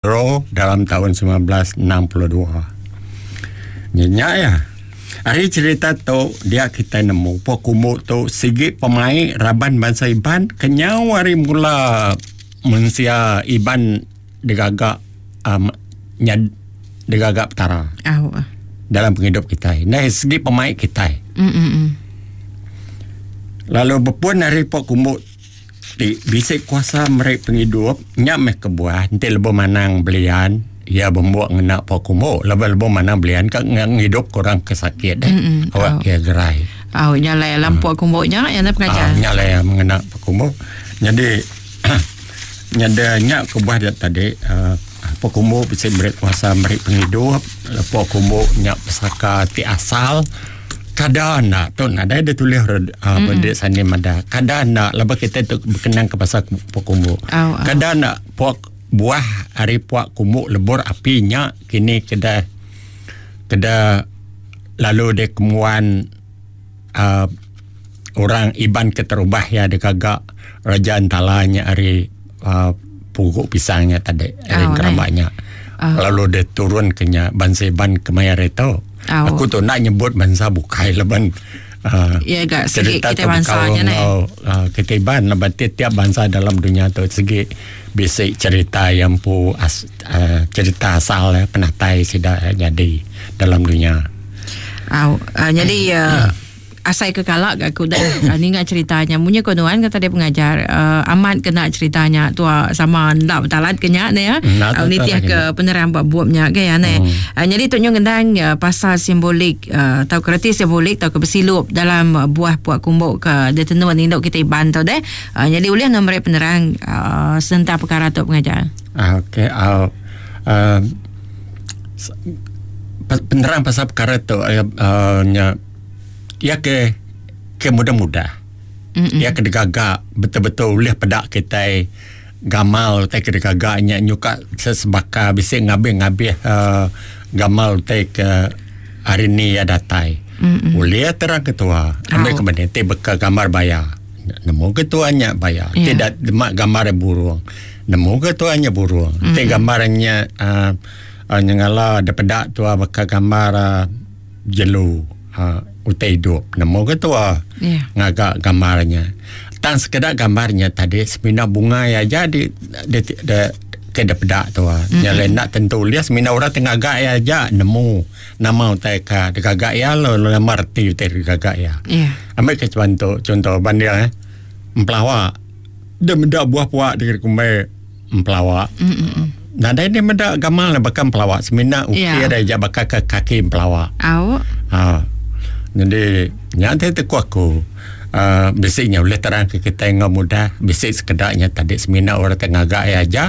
Ro dalam taun 1962. Nya nya iya. Ari cherita tu dia kitai nemu pok kumbu tu sigi pemai raban bansa Iban kenyau ari mula mensia Iban digaga um nyad digaga Petara dalam pengidup kitai. Ndai sigi pemai kitai. Lalu bepun ari pok kumbu Ti bisi kuasa meri pengidup nya meh kebuah enti lebuh manang belian iya bembuk ngena pok kumbu laban lebuh manang belian ka ngidup ke orang ke sakit deh awak ke gerai. Au nya alai alam pok kumbu nya iya pengajar. Nya alai ngena pok kumbu. Nyadi nyadi nya kebuah dia tadi uhh pok kumbu bisi meri kuasa meri pengidup pok kumbu nya pesaka ti asal. Kada enda tu nadai deh tulih uhh mm sani madah. Kada enda laban kitai tu bekenang ke pasal puak kumbu. Kada enda puak buah ari puak kumbu lebur api nya kini keda keda lalu deh kemuan uhh orang Iban keterubah iya digaga Raja Entala nya ari uhh pugu pisang nya tadi ari keramba nya. Lalu deh turun ke nya bansa Iban kemaya hari tu. Aku tu enda nyebut bansa bukai laban uhh Iya ga sigi cerita kitai tu bansa bekaul nya neh. enggau uhh kitai Iban laban tiap-tiap bansa dalam dunya tu sigi bisi cerita iya empu as uhh cerita asal iya penatai sida nyadi dalam dunya. Au uhh nyadi uhh Asai ke kala ga aku deh ninga cerita nya munyi ko nuan kata dia pengajar uh, amat kena cerita nya tua sama enda betalat ke nya ne ya uh, nitih ke penerang ba bup nya ke ya ne hmm. uh, jadi tu nyu ngendang uh, pasal simbolik uh, tau kereti simbolik tau ke besilup dalam uh, buah puak kumbuk ke ditenun indu kita Iban tu deh uh, jadi ulih no meri penerang uh, sentang perkara tu pengajar uh, okey uh, uh, penerang pasal perkara tu uh, uh, nya Iya ke ke mudah-mudah. Iya ke digaga betul-betul ulih peda kitai gamal utai ke digaga nya nyuka sesebaka bisi ngabih-ngabih uhh gamal utai ke hari ni iya datai. Ulih terang ketua ambi ke mending ti baka gambar baya nemu ketua nya baya ti da dema gambar burung nemu ketua nya burung ti gambar nya uhh nyengala da peda tua baka gambar uhh jelu uhh utai idup nemu ke tua yeah. ngaga gambar nya tang sekeda gambar nya tadi semina bungai aja di di, di ke da peda tua mm-hmm. nya lain nak tentu ulih semina orang ti ngaga iya aja nemu nama utai ka digaga iya lalu nama reti utai digaga iya yeah. ambil ke contoh contoh banding eh empelawa dia meda buah puak di kumbai empelawa. Mm-mm. Nadai dia meda gamal ne baka empelawa semina ukir yeah. aja baka ke kaki empelawa. Au. Ha. Jadi nya ti teku aku. Uh, bisi nya ulih terang ke kitai enggau mudah bisi sekeda nya tadi semina orang ti ngaga iya aja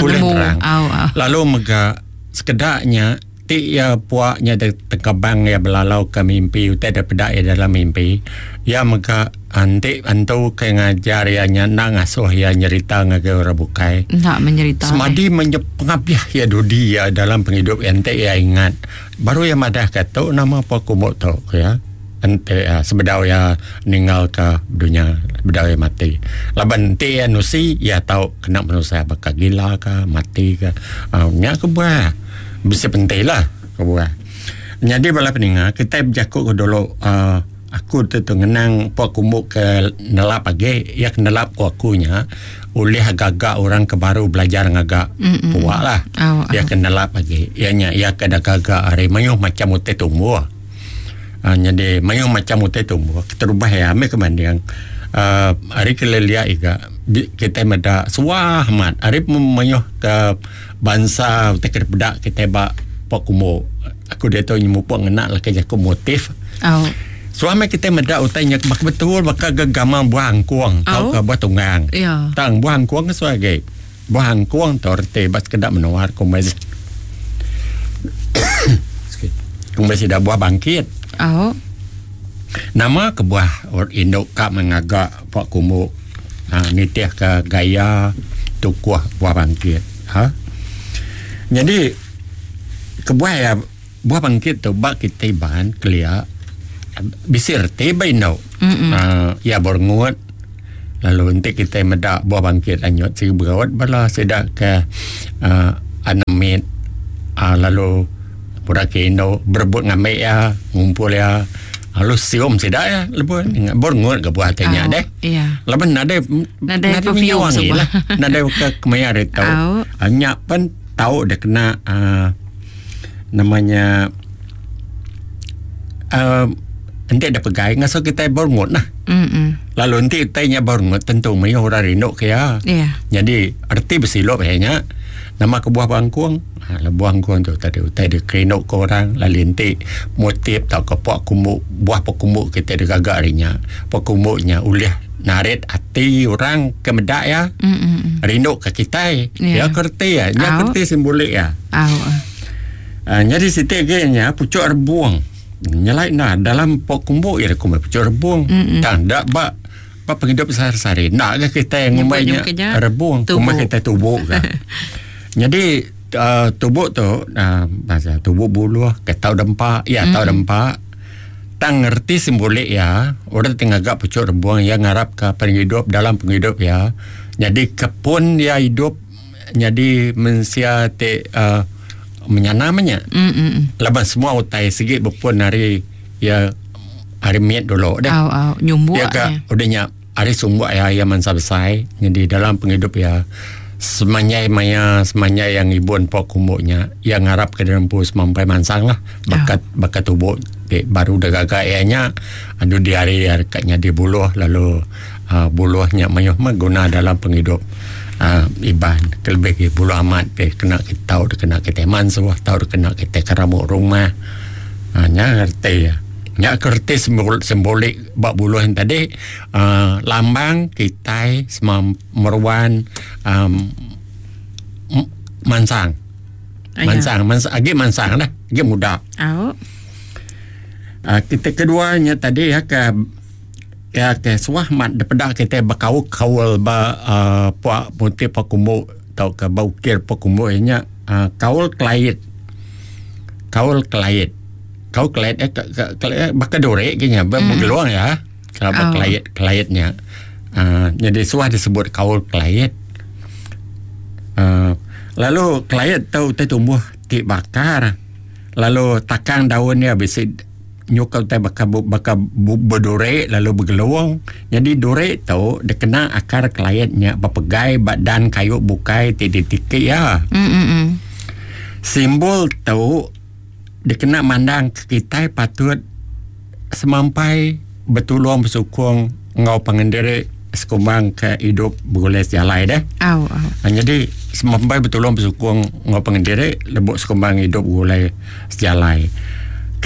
ulih terang. Au, au. Lalu mega sekeda nya Ti iya puak nya tengkebang iya belalauka mimpi utai da peda iya dalam mimpi. Iya mega enti antu ke ngajar iya nya enda ngasuh iya nyerita ngagai orang bukai. Enda menyerita. Semadi meh pengabih iya dudi iya dalam pengidup iya enti iya ingat baru iya madahka tu nama puak kumbu tu ku iya. Enti iya sebedau iya ninggalka dunya sebedau iya mati. Laban enti iya nusi iya tau kena penusah baka gila ka mati ka. Nya kebuah. Bisi penti lah kebuah. Nyadi bala peninga kitai bejaku ke dulu uhh aku tu tu ngenang pok kumbu ke nelap agi iya ke nelap ku aku nya ulih gaga orang ke baru belajar ngaga puak lah. Iya ke nelap agi iya nya iya ke gaga ari mayuh macam utai tumbuh. Uhh nyadi mayuh macam utai tumbuh keterubah iya meh ke banding uhh ari ke lelia iga kitai meda suah amat ari mayuh ke Bansa utai ke dipeda kitai ba pok kumbu. Aku diatu nyemupuk ngena leka jaku motif. Au. Suah meh kitai meda utai nya baka betul baka ga gamal buah angkung tauka buah tunggang. Ya. Tang buah angkung ke suah agi. Buah angkung tu reti ba sekeda menua kumbai kumbai sida buah bangkit. Au. Nama kebuah indu ka meh ngaga pok kumbu. Ha, nitihka gaya tukuh buah bangkit. Ha. Nyadi kebuah iya buah bangkit tu ba kitai Iban kelia bisi reti ba indu. Ha, iya berengut lalu enti kitai meda buah bangkit anyut sigi begaut bala sida ke uhh. Lalu orang ke indu berebut ngambi iya, ngumpul iya lalu sium sida iya lebuh berngut ga buah ti nya deh. Laban nadai nadai perfume wangi lah. Nadai ke kemaya hari tu. Nya pen tau deh kena aaa nama nya aaa enti deh pegai ngasuh kitai berngut lah. Lalu enti utai nya berngut tentu mayuh orang rindu ke iya. Nyadi reti besilup iya nya nama kebuah bangkung. Ha lebuh angkun tu tadi utai dikerindu ke orang lalu enti motif tauka pua kumbu buah pua kumbu kite digaga ari nya pua kumbu nya ulih narit ati orang ke meda iya rindu ke kitai. Iya ke reti iya nya ke reti simbolik iya. Ha nyadi siti agi nya puchok rebung nyelai enda dalam pua kumbu iya dikumbai puchok rebung tang enda ba ba pengidup sehari-sehari enda ga kitai ngumbai nya rebung kumbai kitai tubu ga. Nyadi uh, tubuh tu uh, bahasa tubuh buluh ke tau dempa, ya tau dempa. Tang ngerti simbolik ya, orang ti ngaga pucuk rebung ya ngarap ka pengidup dalam pengidup ya. Nyadi kepun ya hidup nyadi mensia ti uh, menyana menya. Laban semua utai sigi bepun ari ya ari mit dulu deh. Au au nyumbuk. Ya ka udah nya Ari sumbuk iya, iya mansa besai nyadi dalam pengidup iya semanjai maya semanjai iya ngibun pok kumbu nya iya ngarapka diri empu semampai mansang lah baka baka tubu ti baru da gaga iya nya dudi hari iya deka nyadi buluh lalu uhh buluh nya mayuh meh guna dalam pengidup uhh Iban kelebih agi buluh amat ti kena tau dikena kitai mansuh tau dikena kitai keramuk rumah uhh nya reti iya. Nya ke reti simbolik ba buluh nya tadi uhh lambang kitai semam meruan uhh mansang. Mansang agi mansang lah agi muda. Au. Uhh kita kedua nya tadi iya ke iya ke suah amat dipeda kitai bekaul kaul ba uhh pua putih pua kumbu tauka ba ukir pua kumbu iya nya uhh kaul kelait. Kaul kelait. Kau kelait eh kelait baka duri ke nya begelung ya. Kalau ba kelait kelait nya. Uh, jadi suah disebut kaul kelait. Uh, lalu kelait tu utai tumbuh ti bakar. Lalu takang daun dia bisi nyuka utai baka baka beduri lalu begelung. Jadi duri tu dikena akar kelait nya bepegai ba dan kayu bukai ti ditiki iya. Simbol tu Dikena mandang ke kitai patut semampai betulung besukung enggau pangan diri sekumbang ke idup begulai sejalai deh. Au au. Nyadi semampai betulung besukung enggau pangan diri lebuh sekumbang idup begulai sejalai.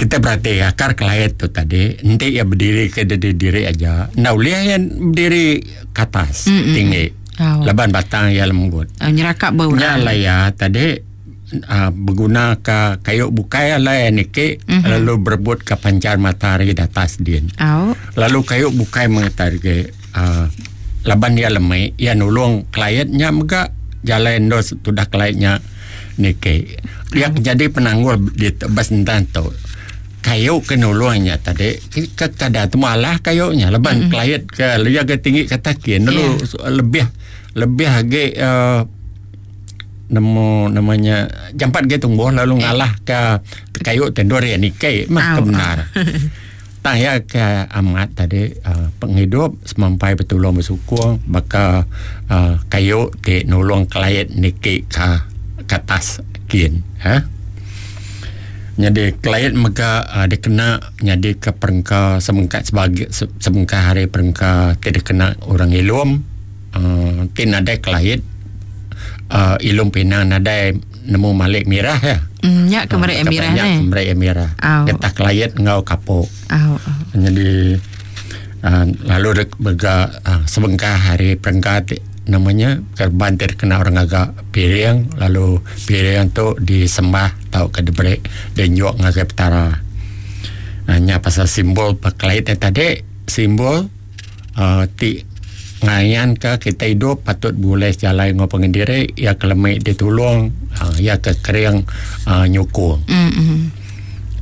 Kitai berati akar kelait tu tadi enti iya bediri ke diri diri aja enda ulih iya bediri ke atas tinggi laban batang iya lembut. Nyerakap ba orang. Nya alai iya tadi. uhh beguna ka kayu bukai alai niki mm -hmm. lalu berebut ka pancar matahari di atas din. Oh. Lalu kayu bukai mengata agi uhh laban iya lemi iya nulung klien nya mega jalai endur tudah klien nya niki. Iya oh. jadi penanggul di bas entan tu. Kayu ke nulung nya tadi ke kada temu alah kayu nya laban mm -hmm. klien ke iya ke tinggi kata kin lalu yeah. lebih lebih agi uhh nemu nama nya jampat agi tumbuh lalu ngalah ka kayu ti endur iya niki mah ke bendar. Tang iya ke amat tadi uhh pengidup semampai betulung besukung baka uhh kayu ti nulung kelait niki ka ke atas kin uhh. Nyadi kelait mega uhh dikena nyadi ke perengka sebengkah sebagi sebengkah ari perengka ti dikena orang ilum. uhh ti nadai kelait uhh ilum pinang nadai nemu malik mirah ya. Mm, nya ke meri mirah nya. Ke meri mirah. Getah kelait enggau kapok. Au. Jadi uhh lalu mega uhh sebengkah ari perengka ti nama nya kereban ti dikena orang ngaga piring lalu piring tu disembah tauka diberi dienjuk ngagai petara. Uhh nya pasal simbol kelait tadi simbol uhh ti ngayanka kitai idup patut begulai sejalai enggau pangan diri iya ke lemi ditulung uhh iya ke kering uhh nyukung.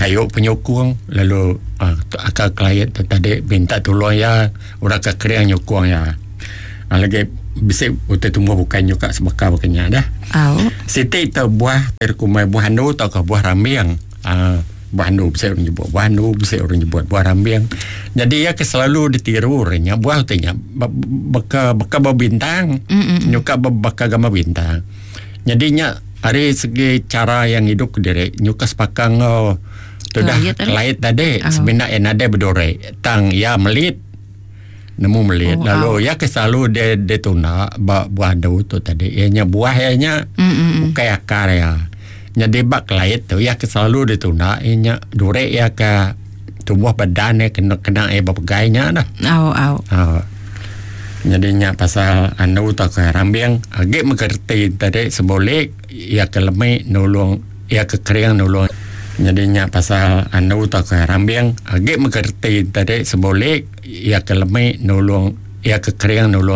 Kayu penyukung lalu uhh akal kelait tu tadi minta tulung iya orang ke kering nyukung iya. Lagi. bisi utai tumbuh bukai nyuka sebaka baka nya dah. Au. Siti tu buah ti kumbai buah andu tauka buah rambing. Aaa buah andu bisi orang nyebut buah andu bisi orang nyebut buah rambing. Nyadi iya ke selalu ditiru orang nya buah utai nya baka baka bebintang nyuka baka gambar bintang. Nyadi nya ari segi chara iya ngidup kediri nyuka sebaka enggau tudah kelait tadi semina iya nadai beduri tang iya melit. Nemu melit oh, lalu oh. iya ke selalu dia dia tunda ba buah andu tu tadi iya nya buah iya nya mm-hmm. ukai akar iya. Nyadi ba kelait tu iya ke selalu ditunda iya nya duri iya ke tumbuh badan iya kena kena iya bepegai nya dah. Au au. Oh. Nyadi nya pasal andu tauka rambing agi mega reti tadi simbolik iya ke lemi nulung iya ke kering nulung Nyadi nya pasal andu tauka rambing agi mega reti tadi simbolik iya ke lemi nulung iya ke kering nulung.